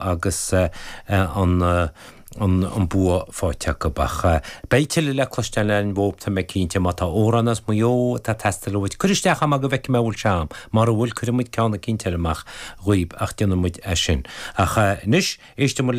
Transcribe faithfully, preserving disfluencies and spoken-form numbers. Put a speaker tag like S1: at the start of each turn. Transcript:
S1: agus an an an bua faighte acu ach beidh tuilleadh le cloisteáil ar an bhóp tá mé cinnte má tá amhrán as Maigh Eo atá ag teastáil uait cuir isteach am go bhfeicfidh mé bhfuil sé a'm mar a bhfuil cuirfidh muid ceann eicínt eile amach dhaoib ach déanfaidh muid é sin ach anois éistfidh muid le